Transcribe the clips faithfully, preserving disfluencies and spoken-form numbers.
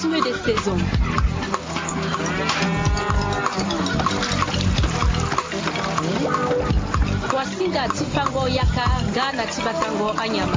Rythme de saison. Kuasinga ti fango yaka nga na ti batango anyama.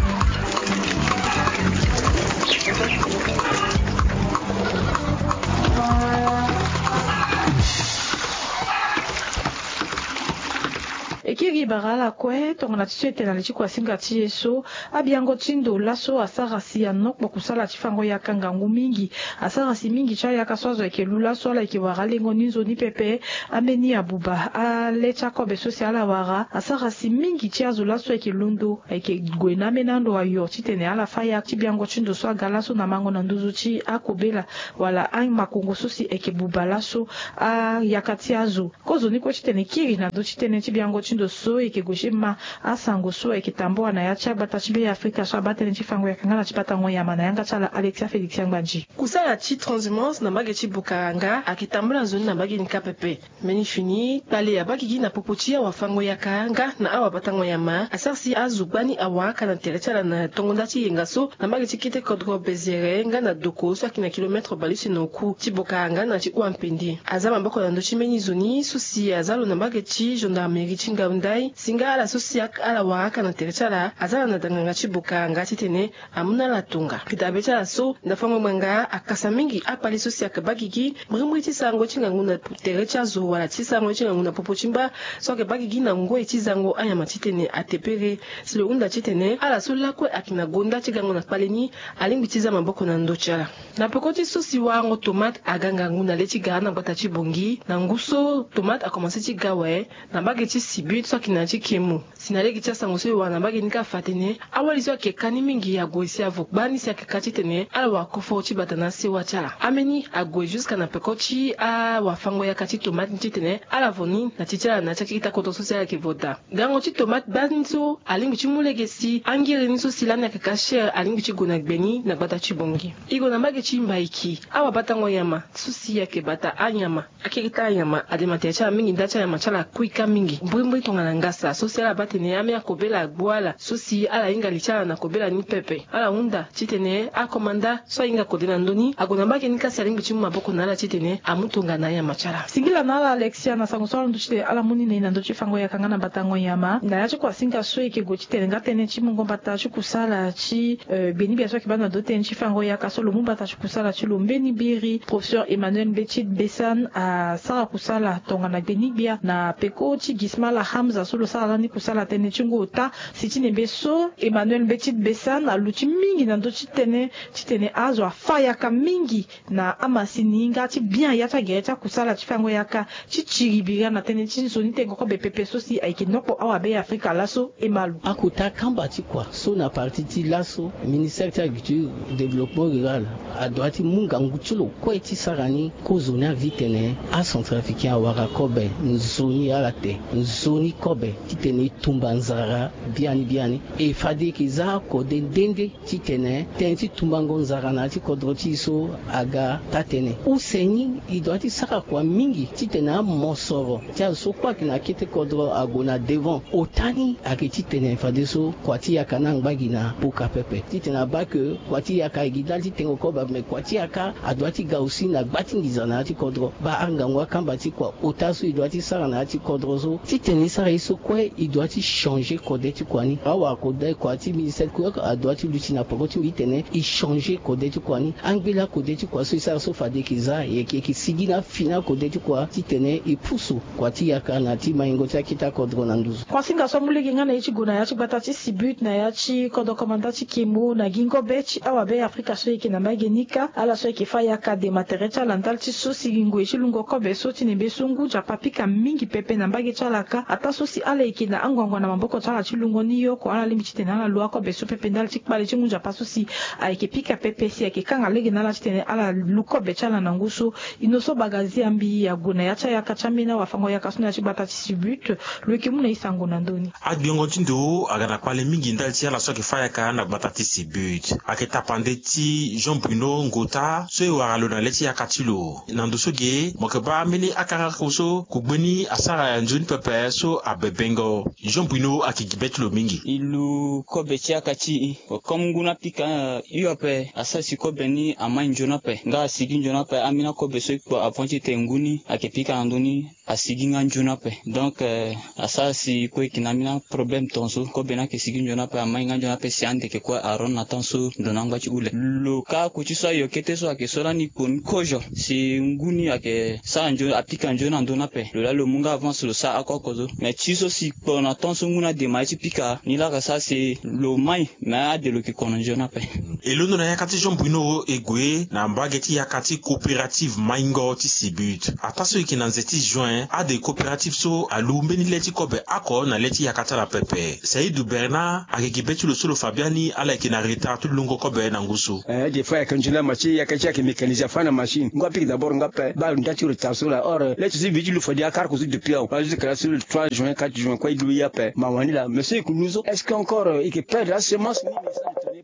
Ekiri bara ala kue tongana ti so e tene na li ti kuasinga ti e so, abiango ti ndo laso asara si anokpo kusala ti fango yaka ngangu mingi. Asara si mingi ti ayaka so azo ayeke lu laso ala yeke wara alengo ni nzoni pepe. Ambeni abuba ale ti akobe so si ala wara asara si mingi ti azo laso ayeke londo ayeke gue na ambeni ando ayo titene ala fâ yaka ti biango ti ndo so aga laso na mango na nduzu ti akobela wala amakongo so si ayeke buba laso ayaka ti azo. Kozoni kue titene kiri na ndö ti tënë ti biango ti ndo so e yeke gue ti ma asango so ayeke tambula na ya ti agbata ti Be Afrika so abaa tënë ti fango yaka nga na ti batango nyama na yanga ti ala Alexia Félix Angbanji. Kusala ti transhumance na mbage ti Bukaranga ayeke tambula nzoni na mbage ni kâ pepe. Mbeni fini kpale abaa gigi na popo ti awafango yaka nga na awabatango nyama asara si azo gbani awara aka na tere ti ala na tongo nda ti yenga so na mbage ti kete kodro Bezere nga na Doko so ayeke na kilomètre bale use na oku ti Bukaranga na ti Ouampende. Aza maboko na ndö ti mbeni zo ni so si aza lo na mbage ti gendarmerie ti Ngaoundeye si nga ala so si ak- ala wara aka na tere ti ala aza na danganga ti Bukaranga titene amu na ala tonga. Pedabe ti ala so na fango ngbanga akasa mingi akpale so si ayeke baa gigi mbirimbiri ti sarango ti ngangu na tere ti azo wala ti sarango ti ngangu na popo ti mba so ayeke baa gigi na ngoi ti zango anyama titene atepere. Si lo hunda titene ala so lakue ayeke na gonda ti gango na kpale ni alingbi ti za maboko na ndö ti ala. Na peko ti so si warango tomate aga ngangu na le ti gara na gbata ti Bongi na ngu so tomate akomanse ti ga awe na mbage ti Sibut so ayeke na ya ti Kemu. Si na lege ti asango so e wara na mbage ni kâ afa atene awali so ayeke ka ni mingi ague si avo gbani si ayeke ka titene ala wara koforo ti bata na sewa ti ala. Ambeni ague jusque na peko ti awafango yaka ti tomate ni titene ala vo ni na ti ti ala na ya ti akita kodro so si ala yeke vo daa. Gango ti tomate gbani so alingbi ti mu lege si angiri ni so si lani ayeke ka cher alingbi ti gue na gbe ni na gbata ti Bongi. E gue na mbage ti Mbaiki awabatango nyama so si ayeke bata anyama. Akiri ti anyama ade ma tere ti ala mingi nda ti anyama ti ala akui ka mingi mbirimbiri tongana ngasa so si ala baa tene ambeni akobela agbu ala so si ala hinga li ti ala na kobela ni pepe. Ala hunda titene akomanda so ahinga kode na ndö ni ague na mbage ni kâ si alingbi ti mu maboko na ala titene amu tongana anyama ti ala. Singila na ala Alexia na sango so ala ndu titene ala mu ni na e na ndö ti fango yaka nga na batango nyama na ya ti kuasinga so e yeke gue titene nga tënë ti mungo mbata ti kusala ti eh, gbeni gbia so ayeke baa na ndö ti tënë ti fango yaka so lo mu mbata ti kusala ti lo mbeni biri. Professeur Emmanuel Mbetid Bessan asara kusala tongana gbeni gbia na peko ti Gismala Hamza so lo sara lani kusala tënë ti ngu ota. Si ti nembe so Emmanuel Mbetid Bessan aluti mingi na ndö ti tënë titene azo afâ yaka mingi na amasini nga ti bian ya ti agere ti akusala ti fango yaka ti tiri bira na tënë ti nzoni tengo kobe pepe so si ayeke nokpo awabe ya Afrika laso e ma lo. Akota kamba ti kua so na parti ti laso ministère ti agriculture, développement rural adoit ti mu ngangu ti lo kue ti sara ni. Kozoni avi tene acentrafricain awara kobe nzoni ala te, nzoni kobe titene e tumba nzara biani biani. E fade e yeke za kode nde nde titene tënë ti tumbango nzara na ya ti kodro ti e so aga taa-tënë. Use ni e doit ti sara kua mingi titene amosoro ti azo so kue ayeke na kete kodro ague na devant. Ota ni ayeke titene fadeso kua ti yaka ni angba gi na poka pepe titene abaa ke kua ti yaka e gi ndali ti tengo kobe me kua ti yaka adoit ti ga aussi na gba ti nginza na ya ti kodro. Baa angangu akamba ti kua ota so e doit ti sara na ya ti kodro so titene e sara ye so kue e doit ti changer kode ti kua ni. Awara kode kua ti ministère kue adoit ti luti na poko ti mbi titene e changer kode ti kua ni. Angbela kode ti kua so e sara so fade e yeke za e yeke sigi na afini akode ti kua titene e pusu kua ti yaka na ti maingo ti akete akodro na nduzu. Kuasinga so amu lege nga na ye ti gue na ya ti gbata ti Sibut na ya ti kodro komanda ti Kemo na gingo be ti awabe Afrika so e yeke na mbage ni kâ ala so e yeke fâ yaka dema tere ti ala ndali ti so si ngoi ti lungo kobe so ti nembe so ngu nzapa pika mingi pepe na mbage ti ala kâ ataa so si ala yeke na anguangu na maboko ti ala ti lungo ni yoko ala lingbi titene ala lu akobe so pepe ndali ti kpale ti ngu nzapa so si ayeke pika pepe si ayeke kanga lege na ala titene ala lu kobe ti ala na ngu so. Ino so bagazi ambi ague na ya ti ayaka ti ambeni awafango yaka so na ya ti gbata ti Sibut lo yeke mu na e sango na ndö ni. Agbengo ti ndo aga na kpale mingi ndali ti ala so ayeke fâ yaka na gbata ti Sibut. Ayeke tapande ti Jean Bruno Ngota so e wara lo na le ti yaka ti lo. Na ndo so ge mo yeke baa ambeni akangako so kogbe ni asara nzoni pepe so abe Bengo, Jean Bruno ayeke gi be ti lo mingi. E lu kobe ti yaka ti e. Comme ngu ni apika hio ape, asara si kobe ni amai nzoni ape, nga asigi nzoni ape. Ambeni akobe so e kpo avant titene ngu ni ayeke pika na ndö ni, asigi nga nzoni ape. Donc, eh, asara si kue e yeke na ambeni aproblème tongaso. Kobe ni ayeke sigi nzoni ape, amai nga nzoni ape si ande yeke kue aronde na temps so ndo na angba ti hule. Lo kâ ako ti so ayo kete so ayeke so lani kpo ni kozo si ngu ni ayeke sara nzoni, apika nzoni na ndö ni ape. Lo laa lo mu nga avance lo sara oko oko so. Mais ti so si kpo na temps so ngu ni ademare ti pika ni laa ayeke sara si lo mai, mais ade lo yeke kono nzoni ape. E londo na yaka ti Jean Bruno e gue na mbage ti yaka ti coopérative maingo ti Sibut. Ataa so e yeke na nze ti juin, ade coopérative so alu mbeni le ti kobe oko na le ti yaka ti ala pepe. Saïdou Bernard ayeke gi be ti lo so lo fa biani ala yeke na retard ti lungo kobe na ngu so. Eh, des fois ayeke nzoni la machine, yaka ti ayeke mécanisé afa na machine. Ngu apiki d'abord nga ape, baa nda ti retard so laa. Or, eh, le ti so e bi ti lo fade akara ko so depuis awe. Baa jusque là sur le trois juin, quatre juin kue e lu ye ape. Mawa ni laa. Mais so e yeke lu so, est-ce que encore, eh, e yeke perdre asemence ni?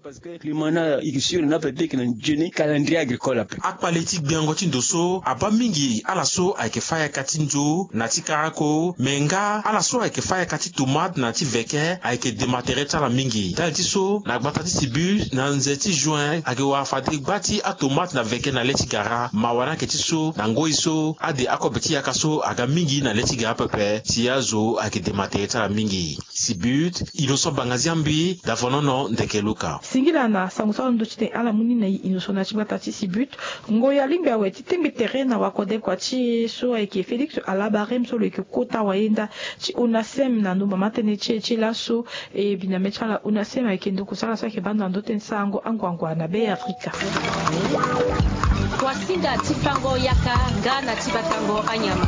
Parce que climat ni ayeke sûr ni ape, e yeke na nzoni calendrier agricole ape. Akpale ti gbiango ti ndo so abaa mingi ala so ayeke fâ yaka ti nzo na ti karako, me nga ala so ayeke fâ yaka ti tomate na ti veke ayeke dema tere ti ala mingi. Ndali ti so na gbata ti Sibut na nze ti juin ayeke wara fade gba ti atomate na veke na le ti gara. Mawa ni ayeke ti so na ngoi so ade akobe ti yaka so aga mingi na le ti gara pepe, si azo ayeke dema tere ti ala mingi. Sibut, Innocent Bangaziambi, Davonono Ndeke Luka. Singila na sango so alondo titene ala mu ni na e, Innocent, na ti gbata ti Sibut. Ngoi alingbi awe ti tengbi tere na wakodekua ti e so ayeke Félix Alabarem so lo yeke kota wayenda ti ONASEM na ndo mama tënë ti e ti laso. E biname ti ala ONASEM ayeke ndokosala so ayeke baa ndo na ndo tënë ti sarango anguangua na Be Afrika. Wasinga ti fango yaka nga na ti batango anyama.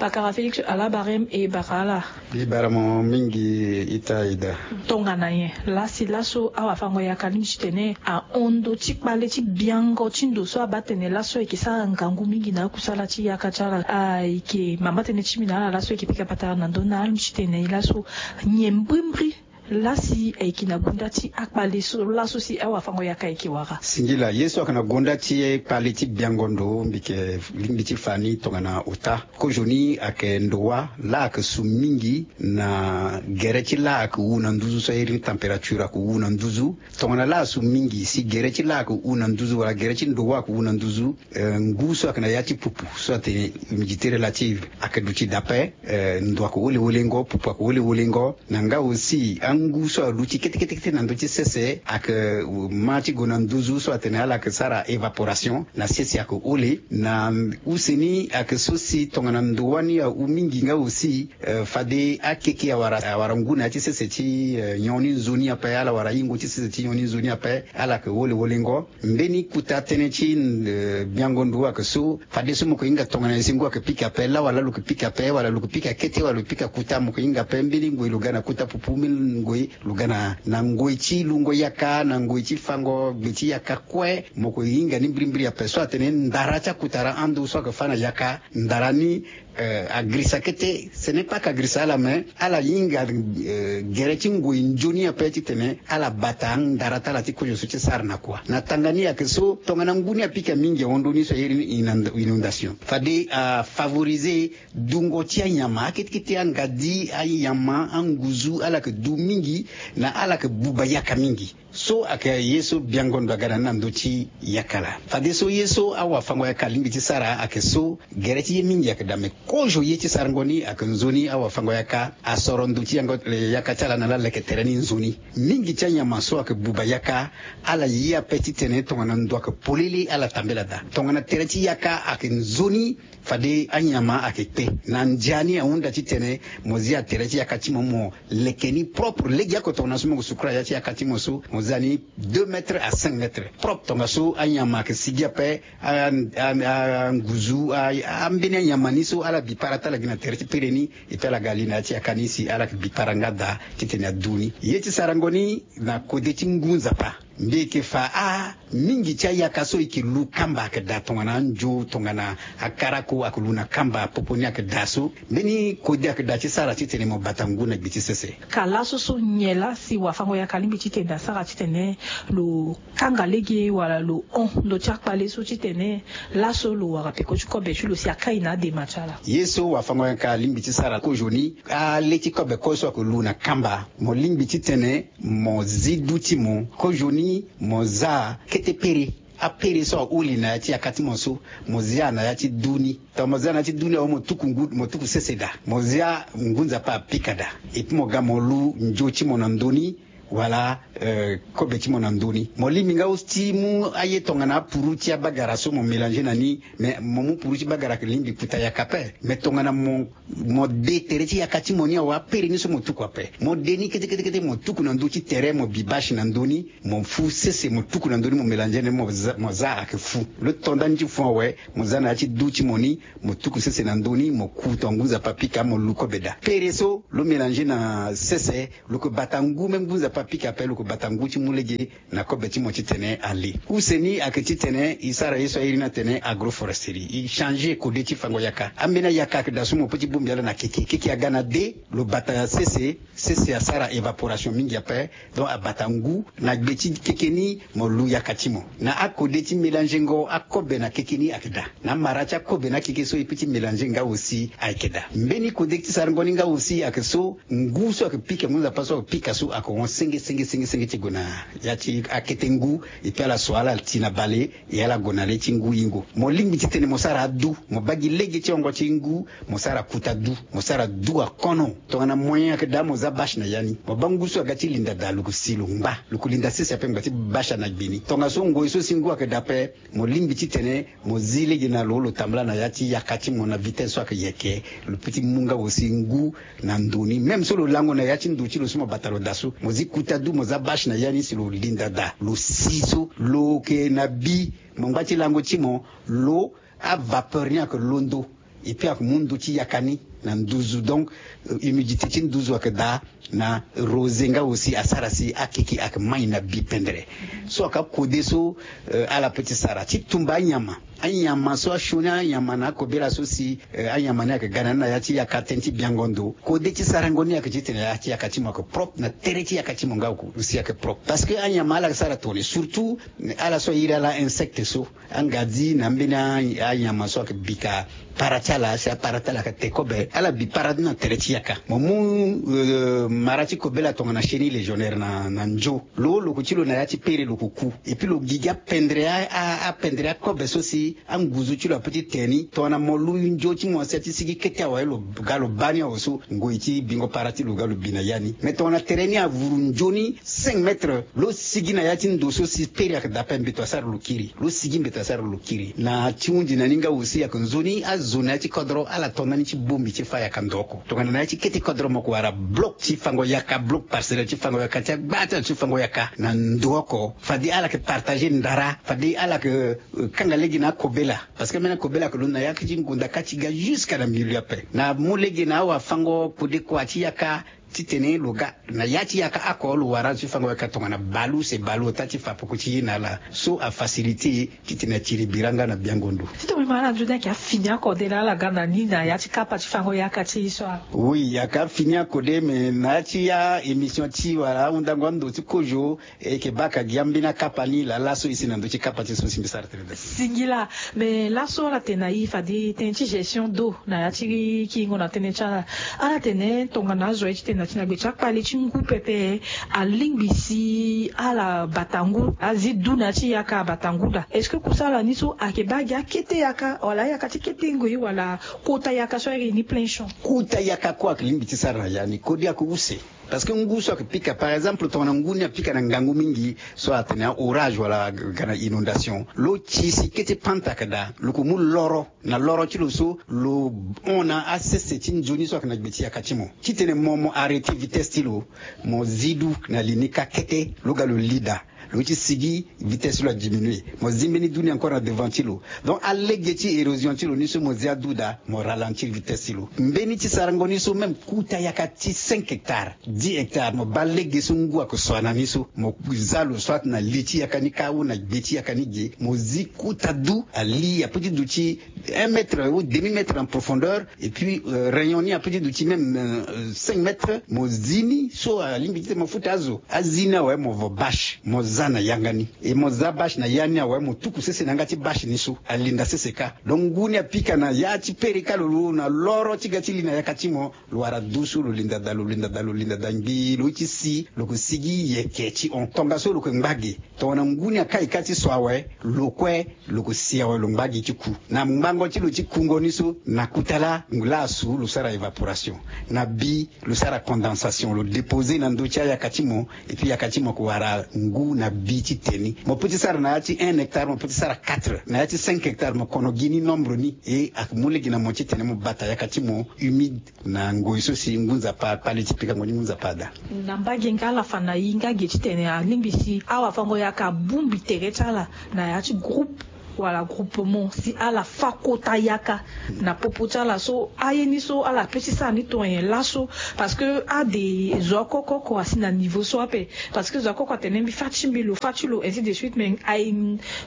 Pakara Félix Alabarem, e bara ala. Mbi bara mo mingi ita Aida. Tongana nyen? Lasi laso awafango yaka alingbi titene ahon ndo ti kpale ti biango ti ndo so abaa tene laso ayeke sara ngangu mingi na akusala ti yaka ti ala. Ayeke mama tënë ti mbi na ala laso ayeke pika patara na ndö ni, alingbi titene laso nyen mbrimbri lasi ayeke na gunda ti akpale so laso si awafango yaka ayeke wara? Singila, ye so ayeke na gunda ti kpale ti biango ndo, mbi yeke lingbi ti fa ni tongana ota. Kozoni ayeke ndowa laa ayeke su mingi na gere ti laa ayeke wu na nduzu so a iri ni température ayeke wu na nduzu. Tongana laa asu mingi si gere ti laa ayeke wu na nduzu wala gere ti ndowa ayeke wu na nduzu, eh, ngu so ayeke na ya ti pupu so atene humidité relative ayeke duti daa ape, eh, ndo ayeke wolewolengo, pupu ayeke wolewolengo. Na nga aussi angu so aluti kete kete kete na ndö ti sese ayeke ma ti gue na nduzu so atene ala yeke sara évaporation na sese ayeke hole. Na use ni ayeke so si tongana ndo wani ahu mingi nga aussi, eh, fade akeke awara, awara ngu na ya ti sese ti, eh, nyon ni nzoni ape, ala wara hingo ti sese ti nyon ni nzoni ape, ala yeke wolewolengo. Mbeni kota tënë ti, eh, biango ndo ayeke so, fadeso mo yeke hinga tongana nyen si ngu ayeke pika ape, laa wala lo yeke pika ape, wala lo yeke pika kete, wala lo yeke pika kota, mo yeke hinga ape. Mbeni ngoi lo ga na kota pupu, mbeni ngoi lo ga na, na ngoi ti lungo yaka, na ngoi ti fango gbe ti yaka kue, mo yeke hinga ni mbirimbiri ape. So atene ndara ti akotara ando so ayeke fâ na yaka, ndara ni, eh, agirisa kete, ce n'est pas que agirisa ala, mais ala hinga, eh, gere ti ngoi nzoni ape titene ala bata ndara ti ala ti kozo so ti sara na kua. Na tanga ni ayeke so, tongana ngu ni apika mingi ahon ndo ni so a iri ni inonda-, inondation. Fade afavoriser dungo ti anyama, akete kete angadi, anyama, anguzu, ala yeke du mingi, na ala yeke buba yaka mingi. So ayeke ye so biango ndo aga na ni na ndö ti yaka laa. Fadeso ye so awafango yaka alingbi ti sara ayeke so, gere ti ye mingi ayeke daa, me kozo ye ti sarango ni ayeke nzoni awafango yaka asoro ndo ti yango, eh, yaka ti ala na ala leke tere ni nzoni. Mingi ti anyama so ayeke buba yaka, ala ye ape titene tongana ndo ayeke polele ala tambela daa. Tongana tere ti yaka ayeke nzoni, fade anyama ayeke kpe. Na ndia ni ahunda titene mo zia tere ti yaka ti mo, mo leke ni propre. Legeoko tongana so mo yeke sukura ya ti yaka ti mo so, mo zia ni deux mètres à cinq mètres propre. Tongaso anyama ayeke sigi ape, a, a, a, anguzu, a, ambeni anyama ni so ala bi para ti ala gi na tere ti pere ni, et puis ala ga li na ya ti yaka ni si ala yeke bi para nga daa titene adu ni. Ye ti sarango ni na kode ti ngu nzapa. Mbi yeke fa amingi ti ayaka so e yeke lu kamba ayeke daa tongana anzo tongana akarako ayeke lu na kamba popo ni ayeke daa so. Mbeni kode ayeke daa ti sara titene mo bata ngu na gbe ti sese. Ka laso so nyen laa si wafango-yaka alingbi titene asara titene lo kanga lege wala lo hon ndö ti akpale so titene laso lo wara peko ti kobe ti lo si akai na adema ti ala? Ye so wafango-yaka alingbi ti sara kozoni, ale ti kobe kue so ayeke lu na kamba, mo lingbi titene mo zi du ti mo kozoni, mo za kete pere. Apere so aholi na ya ti yaka ti mo so, mo zia na ya ti du ni. Tongana mo zia na ya ti du ni awe, mo tuku ngu, mo tuku sese daa. Mo zia ngu Nzapa apika daa. Epui mo ga mo lu nzo ti mo na ndö ni, wala, euh, kobe ti mo na ndö ni. Mo lingbi nga aussi ti mu aye tongana apuru ti abagara so mo mélanger na ni, mais mo mu puru ti bagara ayeke lingbi kuta yaka ape. Mais tongana mo, mo de tere ti yaka ti mo ni awe, apere ni so mo tuku ape. Mo de ni kete kete kete, mo tuku na ndö ti tere, mo bi bâche na ndö ni, mo fu sese, mo tuku na ndö ni, mo mélanger na ni, mo za, mo za ayeke fu. Lo to ndani ti fu awe, mo za na ya ti du ti mo ni, mo tuku sese na ndö ni, mo ku tongana ngu Nzapa apika, mo lu kobe daa. Pere so lo mélanger na sese, lo yeke bata ngu, même ngu Nzapa apika ape, lo yeke bata ngu ti mu lege na kobe ti mo titene ale. Use ni ayeke titene e sara ye so a iri ni atene agroforesterie, e changer kode ti fango yaka. Ambeni ayaka ayeke daa so mo peut ti bongbi ala na keke. Keke aga na de, lo bata sese, sese asara évaporation mingi ape. Donc abata ngu na gbe ti keke ni, mo lu yaka ti mo. Na akode ti mélangengo akobe na keke ni ayeke daa. Na amara ti akobe na akeke so e peut ti mélanger nga aussi ayeke daa. Mbeni kode ti sarango ni nga aussi ayeke so, ngu so ayeke pika, ngu Nzapa so ayeke pika so ayeke hon senge senge senge senge ti gue na ya ti akete ngu. Epui ala so ala ti na bale, e ala gue na le ti ngu yingo. Mo lingbi titene mo sara adu, mo baa gi lege ti hongo ti ngu, mo sara kuta du, mo sara du akono. Tongana moyen ayeke daa, mo za bâche na ya ni. Mo baa ngu so aga ti linda daa, lo ko si lo ngba, lo ko linda sese ape ngba ti bâche na gbe ni. Tongaso ngoi so si ngu ayeke daa ape, mo lingbi titene mo zi lege na lo, lo tambula na ya ti yaka ti mo na vitesse so ayeke yeke. Lo peut ti mu nga aussi ngu na ndo ni. Même so lo lango na ya ti ndo ti lo so mo bata lo daa so, mo zi kuta du, mo za bâche na ya ni si lo linda daa, lo si so, lo yeke na bi. Mo ngba ti lango ti mo, lo, avapeur ni ayeke londo. Epui ayeke mu ndo ti yaka ni na nduzu. Donc, euh, humidité ti nduzu ayeke daa, na rosée nga aussi asara si akeke ayeke mai na bi pendere. So ayeke akode so, euh, ala peut ti sara ti tumba anyama. Anyama so asioni anyama na akobela so si, euh, anyama ni ayeke ga na ni na ya ti yaka tënë ti biango ndo. Kode ti sarango ni ayeke titene ya ti yaka ti mo ayeke propre, na tere ti yaka ti mo nga aussi ayeke propre. Parce que anyama ala yeke sara tongana nyen, surtout ala so airi ala insecte so. Angadi na ambeni a, anyama so ayeke bika para ti ala, si apara ti ala ayeke te kobe, ala bi para ni na tere ti yaka. Mo mu, euh, mara ti kobela tongana chenille légionnaire na, na nzo. Lo, lo ko ti lo na ya ti pere lo ko ku. Epui lo gigi apendere a, a, apendere akobe so si anguzu ti lo apeut ti te ni. Tongana mo lu nzo ti mo si a ti sigi kete awe, lo ga lo baa ni awe so, ngoi ti bingo para ti lo ga lo bi na ya ni. Mais tongana tere ni avuru nzoni cinq mètres, lo sigi na ya ti ndo so si pere ayeke daa ape, mbeto asara lo kiri. Lo sigi, mbeto asara lo kiri. Na ti hunzi na ni nga aussi ayeke nzoni azo na ya ti kodro ala to ndani ti bongbi ti fâ yaka ndo oko. Tongana na ya ti kete kodro mo ko wara bloc ti fango yaka, bloc parcellaire ti fango yaka, ti agba ti ala ti fango yaka na ndo oko. Fade ala yeke partager ndara, fade ala yeke, euh, kanga lege na akobela. Parce que mbeni akobela ayeke londo na ya ti ngonda kâ ti ga jusqu'à na milieu ape. Na mu lege na awafango kode kua ti yaka, titene lo ga na ya ti yaka oko lo wara azo ti fango yaka tongana bale use bale ota ti fa peko ti ye na ala. So afacilité titene atiri bira nga na biango ndo. Titene mo yeke ma ala nzoni ayeke afini akode laa ala ga na ni na ya ti kapa ti fango yaka ti e so awe? Oui, ayeke afini akode, me na ya ti a-émission ti wala ahundango ando ti kozo, e yeke baa ka gi ambeni akapa ni laa laso e si na ndö ti kapa ti e so si mbi sara tënë daa. Singila. Me laso ala tene na e fade tënë ti gestion d'eau na ya ti kingo na tënë ti ala. Ala tene tongana azo aye titene na ti na gbe ti akpale ti ngu pepe, alingbi si ala bata ngu, azi du na ya ti yaka abata ngu daa. Est-ce que kusala ni so ayeke baa gi akete yaka wala ayaka ti kete ngoi wala kota yaka so airi ni plein champ? Kota yaka kue ayeke lingbi ti sara na ya ni, kode ayeke use. Parce que ngu so ayeke pika, par exemple, tongana ngu ni apika na ngangu mingi, so atene a-orage wala ga na inondation, lo ti si kete panta ayeke daa, lo ko mu loro na loro ti lo so, lo hon na asese ti nzoni so ayeke na gbe ti yaka ti mo. Titene mo, mo arrêter vitesse ti lo, mo zi du na li ni kâ kete, lo ga lo li daa. Lo ti sigi, vitesse ti lo adiminuer. Mo zi mbeni du ni encore na devant ti lo. Donc alege ti érosion ti lo ni so mo zi adu daa, mo ralentir vitesse ti lo. Mbeni ti sarango ni so même kota yaka ti cinq hectares, dix hectares, mo baa lege so ngu ake so ana ni so, mo za lo soit na li ti yaka ni kâ ou na gbe ti yaka ni ge, mo zi kota du ali ape ti duti un mètre ou demi mètre en profondeur. Et puis rayon ni ape ti duti même cinq mètres. Mo zi ni so alingbi ti tene mo futa azo. Azi ni awe mo vo bâche mo za na yanga ni. E mo za bâche na ya ni awe mo tuku sese na yanga ti bâche ni so alinda sese kâ. Donc ngu ni apika na ya ti pere kâ lo lo na loro ti ga ti li na yaka ti mo. Lo wara du so lo linda daa lo linda daa lo linda daa ngbii lo ti si lo ke sigi yeke ti hon tongaso lo ke ngba ge. Tongana ngu ni akai kâ ti so awe, lo kue lo ke si awe lo ngba gi ti ku. Na ngbango ti lo ti kungo ni so na kota laa ngu laa asu lo sara évaporation. Na bi lo sara condensation lo déposer na ndö ti ayaka ti mo. Et puis yaka ti mo ke wara ngu na bi ti te ni. Mo pe ti sara na ya ti un hectare mo pe ti sara quatre na ya ti cinq hectare mo kono gi ni nombre ni. E ake mu lege na mo ti tene mo bata yaka ti mo humide. Na ngoi so si ngu nzapa akpali ti pikango ni ngu nzapa ada. Na mbage nga ala fa na i nga ge titene alingbi si awafango-yaka abongbi tere ti ala na ya ti groupe wala groupement si ala fa kota yaka na popo ti ala so aye ni so ala pe ti sara ni tonga nyen laso? Parce que ade zo oko oko asi na niveau so ape. Parce que zo oko oko atene mbi fa ti mbi lo fa ti lo ainsi de suite mais aye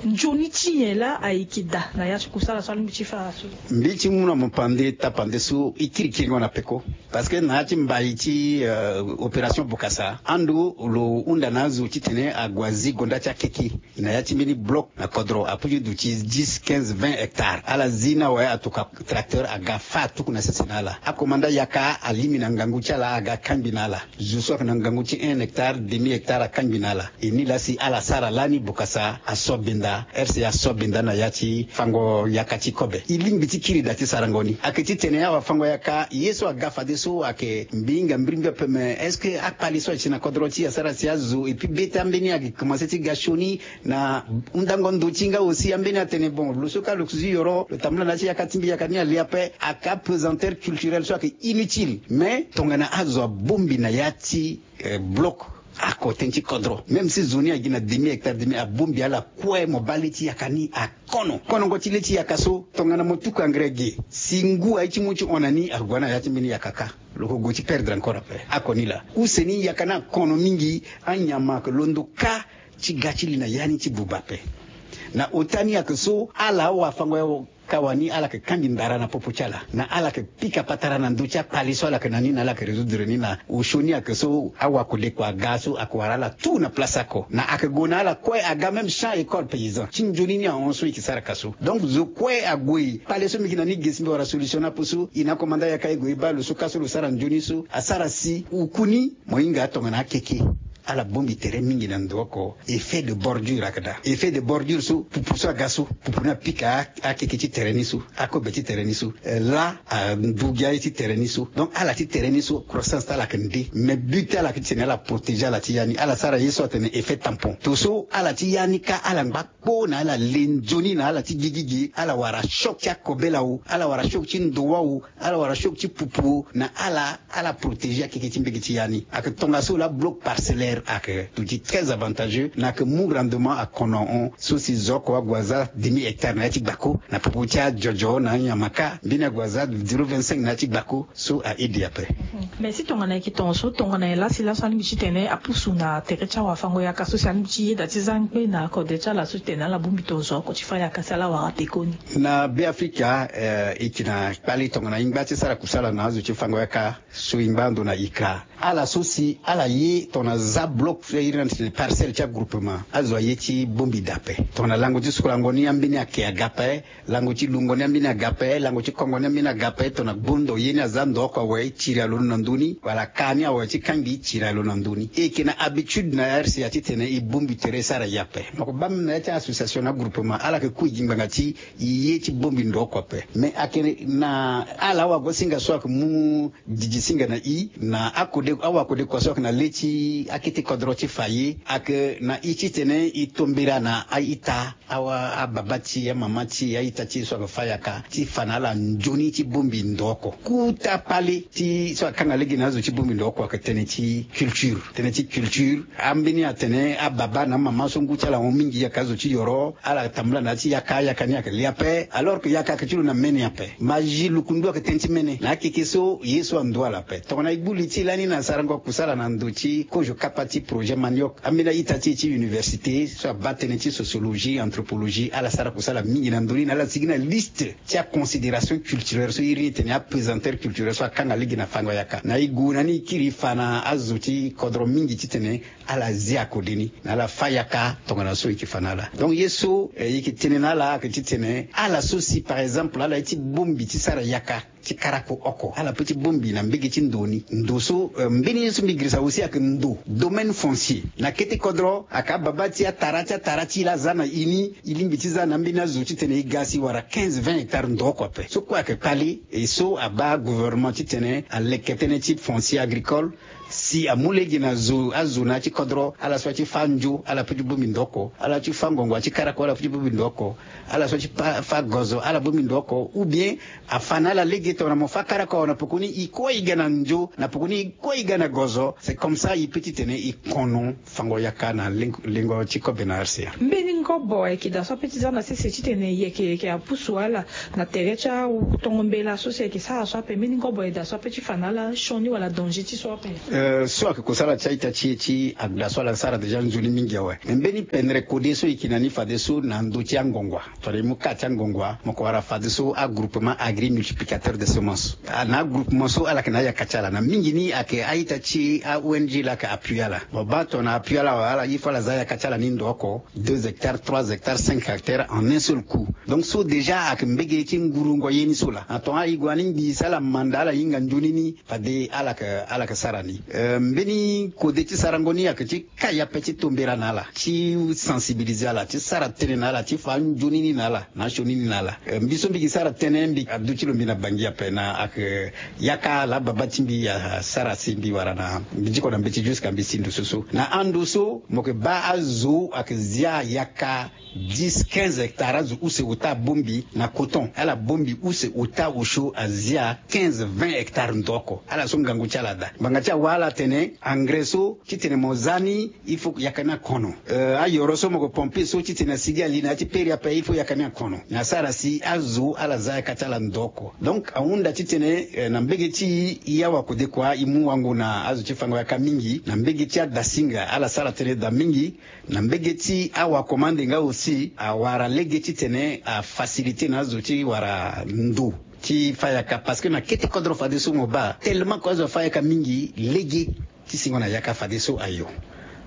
nzoni ti nyen laa aye yeke daa na ya ti kusala so alingbi ti fa laso? Mbi ti mu na mo pande tapande so e kiri kiringo na peko. Parce que na ya ti mbai ti opération bokasa ando lo hunda na azo titene ague azi gonda ti akeke na ya ti mbeni bloc na kodro aputi duti dix quinze vingt hectares ala zi ni awe atokua tracteur aga fa atuku na sese na ala akomanda yaka alimi na ngangu ti ala aga akangbi na ala. Zo so ayeke na ngangu ti un hectare demi hectare akangbi na ala. E ni laa si ala sara lani bokasa aso benda rca aso benda na ya ti fango yaka ti kobe e lingbi ti kiri daa ti sarango ni ayeke titene awafango-yaka ye so aga fadeso ayeke mbi hinga mbirimbiri ape mais est-ce que akpali so aye si na kodro ti e asara si azo et puis be ti ambeni ayeke komanse ti ga sioni na hundango ndo ti e nga aussi ambeni atene bon lo so kâ lo si yoro lo tambula na ya ti yaka ti mbi yaka ni ale ape. Aka pesanteur culturel so ayeke inutile mais tongana azo abongbi na ya ti bloc ako tënë ti kodro même si zo ni agi na demi hectare demi abongbi ala kue mo baa le ti yaka ni akono konongo ti le ti yaka so tongana mo tuku engrais ge si ngu aye ti mu ti hon na ni ague na ya ti mbeni yaka kâ. Lo ko gue ti perdre encore ape ako ni laa use ni yaka ni akono mingi. Anyama ayeke londo kâ ti ga ti li na ya ni ti buba ape. Na ota ni ayeke so ala awafango-yaka wani ala yeke kangbi ndara na popo ti ala na ala yeke pika patara na ndö ti akpali so ala yeke na ni na ala yeke résoudre ni na osio ni ayeke so awakodekua aga so ayeke wara ala tout na place oko na ayeke gue na ala kue aga même champ école paysan ti nzoni ni ahon so e yeke sara ka so. Donc zo kue ague kpale so mbi yeke na ni ge si mbi wara solution ni ape so e na akomanda yaka e gue e baa lo so kâ so lo sara nzoni so asara si oku ni mo hinga tongana akeke ala bongbi tere mingi na ndo oko. Effet de bordure ayeke daa effet de bordure so pupu so aga so pupu ni apika akeke ti tere ni so akobe ti tere ni so laa andu gi aye ti tere ni so. Donc ala ti tere ni so croissance ti ala ayeke nde mais but ti ala ayeke ti tene ala protéger ala ti ya ni ala sara ye so atene effet tampon to so ala ti ya ni kâ ala ngba kpo na ala le nzoni na ala ti gigi ge ala wara choc ti akobela o ala wara choc ti ndowa o ala wara choc ti pupu o na ala ala protéger akeke ti mbege ti ya ni. Ayeke tongaso laa bloc parcellaire ayeke duti très avantageux na ayeke mu rendement akono ahon so si zo oko ague aza demi hectare na ya ti gbako na popo ti ajojo na anyama kâ mbeni ague aza zéro vingt-cinq na ya ti gbako so a aide ape. Mais si tongana e yeke tongaso tongana nyen laa si laso alingbi ti tene apusu na tere ti awafango-yaka so si alingbi ti yeda ti za ngbe na kode ti ala so ti tene ala bongbi tongaso oko ti fa yaka si ala wara pekoni? Na be afrika e yeke na kpali tongana e ngba ti sara kusala na azo ti fango-yaka so e ngba ando na ikra ala so si ala ye tongana za bloc so e iri na titene parcelle ti agroupement azo aye ti bongbi daa ape. Tongana lango ti sukulango ni ambeni ake aga ape lango ti lungo ni ambeni aga ape lango ti kongo ni ambeni aga ape tongana gbondo ye ni aza ndo oko awe tiri alondo na ndö ni wala kaa ni awe ti kangbi tiri alondo na ndö ni e yeke na habitude na rca titene e bongbi tere e sara ye ape. Mo yeke baa même na ya ti association na agroupement ala yeke kui gi ngbanga ti e ye ti bongbi ndo oko ape mais ayeke na ala awagosinga so ayeke mu didi singa na e na akode awakodekua so ayeke na le ti ake ti kodro ti fa ye ayeke na i titene i tombela na a-ita, awa ababa ti e, amama ti e, a-ita ti e so ayeke fa yaka ti fa na ala nzoni ti bongbi ndo oko. Kota kpale ti so akanga lege na azo ti bongbi ndo oko ayeke tënë ti culture. Tënë ti culture, ambeni atene ababa na amama so ngu ti ala ahon mingi ayeke azo ti yoro, ala tambula na ya ti yaka, yaka ni ayeke le ape, alors que yaka ayeke ti lo na mene ape. Magie lukundu ayeke tënë ti mene na akeke so ye so ando ala ape. Tongana e gbu li ti e lani na sarango kusala na ndo ti kozo kapa ti projet Manioc, ambeni a-ita ti e ti université so abaa tënë ti sociologie, anthropologie, ala sara kusala mingi na ndo ni na ala sigi na liste ti aconsidération culturelle so iri ni tene aprésenteur culturel so akanga lege na fango yaka. Na e gue na ni e kiri e fa na azo ti kodro mingi titene ala zia kode ni na ala fa yaka tongana so e yeke fa na ala. Donc ye so, eh, e yeke tene na ala ayeke titene ala so si par exemple ala ye ti bongbi ti sara yaka ti karako oko, ala peut ti bongbi na mbege ti ndo ni. Ndo so, eh, mbeni ye so mbi girisa aussi ayeke ndo, domaine foncier. Na kete kodro ayeke ababa ti atara ti atara ti e laa aza na e ni, e lingbi ti za na ambeni azo titene e ga si wara quinze, vingt hectares ndo oko ape. So kue ayeke kpale, e so abaa gouvernement titene aleke tënë ti foncier agricole, si amu lege na zo, azo na ya ti kodro, ala so aye ti fâ nzo ala peut ti bongbi ndo oko, ala ti fâ ngongua ti karako ala peut ti bongbi ndo oko, ala so aye ti pa, fâ gozo ala bongbi ndo oko, ou bien afa na ala lege tongana mo fâ karako awe na pekoni e kue e ga na nzo, na pekoni e kue e ga na gozo. C'est comme ça e peut titene e kono fango yaka na lengo, lengo ti kobe na R C A. Mbeni ngobo ayeke daa so ape ti za na sese titene e yeke, e yeke apusu ala na tere ti atongo mbela so si ayeke sara so ape, mbeni ngobo ayeke daa so ape ti fa na ala sioni wala danger ti so ape? Eh, so ayeke kosala ti a-ita ti e ti agda so ala sara déjà nzoni mingi awe. Me mbeni pendere kode so e yeke na ni fadeso na ndö ti angongua. Tongana e mu ka ti angongua, mo yeke wara fadeso agroupement agri multiplicateur de semence. Ah, na agroupement so ala yeke na ayaka ti ala. Na mingi ni ayeke a-ita ti a-O N G laa ayeke appuyer ala. Mo baa tongana appuyer ala awe, ala, il faut ala za ayaka ti ala ni ndo oko, deux hectares, trois hectares, cinq hectares en un seul coup. Donc so déjà ayeke mbege ti ngurungo ye ni so laa. Na tongana e gue na ni ngbii si ala manda ala hinga nzoni ni, fade ala yeke, ala yeke sara ni. Eh, mbeni kode ti sarango ni ayeke ti kai ape ti tombela na ala, ti sensibiliser ala, ti sara tënë na ala, ti fa nzoni ni na ala, na asioni ni na ala. Eh, mbi so mbi gi sara tënë, mbi aduti lo mbi na Bangui ape na ayeke yaka laa baba ti mbi asara si mbi wara na, mbi diko na mbeti jusqu'à mbi si ndo so so. Na ando so mo yeke baa azo ayeke zia yaka dix, quinze hectares, azo use ota abongbi na coton. Ala bongbi use ota osio azia quinze, vingt hectares ndo oko. Ala so ngangu ti ala daa. Ngbanga ti awa ala tene engrais so titene mo za ni, il faut yaka ni akono. Euh, ayoro so mo yeke pomper so titene asigi ali na ya ti peri ape, il faut yaka ni akono. Na asara si azo ala za yaka ti ala ndo oko. Donc ahunda titene, euh, na mbege ti e, e awa kodekua e mu wango na azo ti fango yaka mingi na mbege ti adasinga, ala sara tënë daa mingi. Na mbege ti awakomande nga aussi awara lege titene afaciliter na azo ti wara ndo ti fa yaka, parce que na kete kodro fadeso mo baa tellement que azo afa yaka mingi, lege ti singo na yaka fadeso ayo.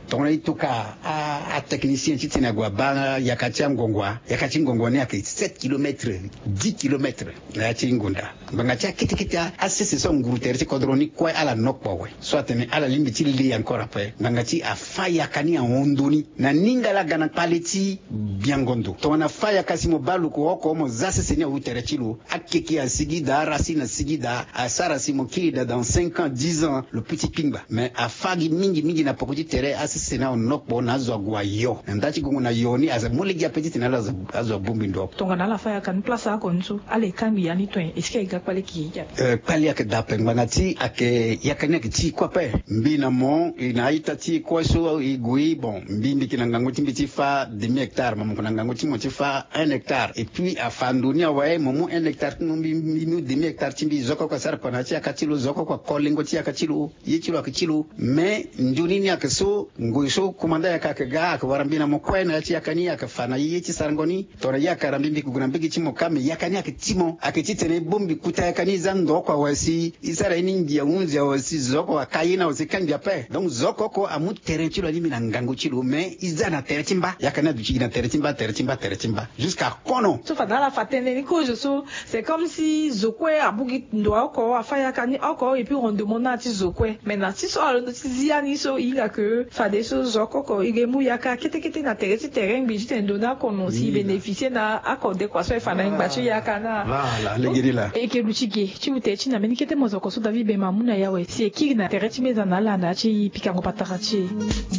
Tongana e toka a, atechnicien titene ague abaa yaka ti angongua, yaka ti ngongua ni ayeke sept kilomètres, dix kilomètres na ya ti ngonda. Ngbanga ti akete kete asese so anguru tere ti kodro ni kue ala nokpo awe. So atene ala lingbi ti le encore ape. Ngbanga ti afa yaka ni ahon ndo ni na ningala ga na kpale ti biango ndo. Tongana afa yaka si mo baa luku oko, mo za sese ni awu tere ti lo. Akeke asigi daa, aracine asigi daa, asara si mo kiri daa dans cinq ans, dix ans, lo peut ti kpingba. Mais afa gi mingi mingi na poko ti tere, asese ni ahon nokpo na azo ague ayo. Na nda ti gongo na yo ni aza mu lege ape titene ala azo, azo abongbi ndo. Tongana ala fa yaka ni place oko ni so, ala e kangbi ya ni to nyen? Est-ce que e ga kpale keke? Eh, kpale ayeke daa ape ngbanga ti ayeke yaka ni ayeke ti e kue ape. Mbi na mo, e na a-ita ti e kue so e gue, bon, mbi, mbi yeke na ngangu ti mbi ti fa demi hectare, mo, mo yeke na ngangu ti mo ti fa un hectare. Et puis afa ndo ni awe, mo mu un hectare ti mo, mbi, mbi mu demi hectare ti mbi, zo oko oko asara kua na ya ti yaka ti lo, zo oko oko ako lengo ti yaka ti lo. Ye ti lo ayeke ti lo. Mais nzoni ni ayeke so, ngoi so komanda yaka ayeke ga, ayeke wara mbi na mo kue na ya ti yaka ni, ayeke fa na ye ti sarango ni. Tongana ye ayeke wara mbi, mbi yeke gue na mbege ti mo kâ, mais yaka ni ayeke ti mo. Ayeke titene e bongbi kota yaka ni, e za ndo oko awe si e sara ye ni ngia hunzi awe si zo oko aka ye ni awe si e kangbi ape. Donc zo oko oko amu terrain ti lo alingbi na ngangu ti lo, mais e za na tere ti mba. Yaka ni aduti gi na tere ti mba, tere ti mba, tere ti mba, jusqu'à kono. So fade ala fa tënë ni kozo so, c'est comme si zo kue amu gi ndo oko, afa yaka ni oko, et puis rendement ni aye ti zo kue. Mais na ti so alondo ti zia ni so, e hinga ke fade Ye so zo koko e ge mu yaka kete kete na tere ti tere ngbi ti tene ndo na akono si e bénéficier na akode kua so e fa na e ngba ti yaka na. Voilà, legeri laa. E ke lu ti ge ti mu tere ti na mbeni kete mozoko so David Bemba amu na e awe si e kiri na tere ti meza na ala na ya ti pikango patara ti e.